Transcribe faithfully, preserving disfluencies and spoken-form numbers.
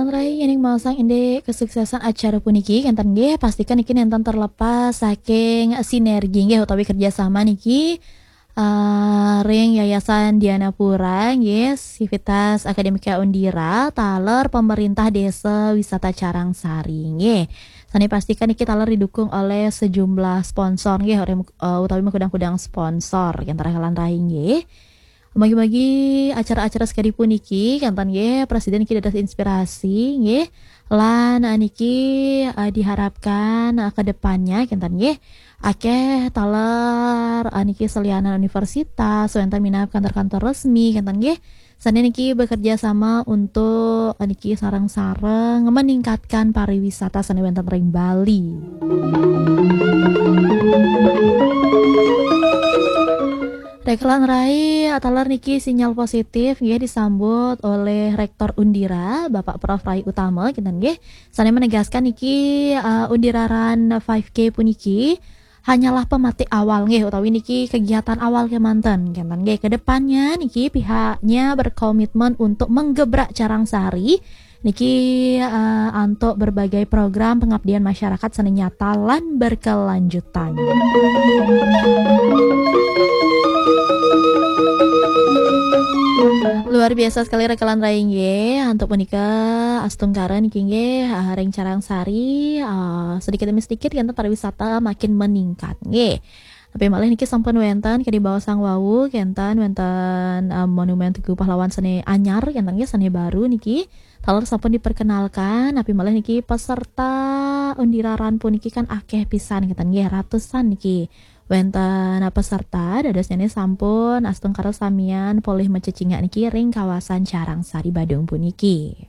Rai, yen masang indik kesuksesan acara puniki, kenten nggih, pastikan niki nenten terlepas saking sinergi nggih utawi kerjasama niki, eh, ring Yayasan Dianapura nggih, Sivitas Akademika Undira, taler pemerintah Desa Wisata Carangsari nggih. Sane pastikan niki taler didukung oleh sejumlah sponsor nggih, utawi, eh, utawi makudang-kudang sponsor, kenten Rai lan Rai nggih. Mugi-mugi acara-acara sakadi puniki, kenten nggih, prasida niki dados inspirasi nggih. Lan, eh, niki, eh, diharapkan, eh, ke depannya, kenten nggih, akeh taler, eh, niki selianan universitas, wenten minab kantor-kantor resmi, kenten nggih. Sane niki bekerja sama untuk, eh, niki sareng-sareng meningkatkan pariwisata sane wenten ring Bali. Rai lan Rai, taler niki sinyal positif nggih disambut oleh Rektor Undira, Bapak Prof Rai Utama, kenten nggih. Sane menegaskan niki, eh, Undira Run five K puniki hanyalah pematik awal nggih, utawi niki kegiatan awal kemanten, kenten nggih. Kedepannya niki pihaknya berkomitmen untuk menggebrak Carangsari niki, eh, antuk berbagai program pengabdian masyarakat sane nyata lan berkelanjutan. Luar biasa sekali Rai lan Rai nggih. Antuk punika astungkara niki nggih, eh, ring Carangsari, eh, sedikit demi sedikit kenten pariwisata makin meningkat nggih. Tapi malih niki sampun wenten kadi baosang wau, kenten wenten, eh, Monumen Tugu Pahlawan sane anyar, kenten nggih, sane baru niki. Taler sampun diperkenalkan, tapi malih niki peserta Undira Run puniki kan akeh pisan, kenten nggih, ratusan niki. Wenten peserta, dadosnyane sampun astungkara samian polih macecingak niki ring kawasan Carangsari Badung puniki.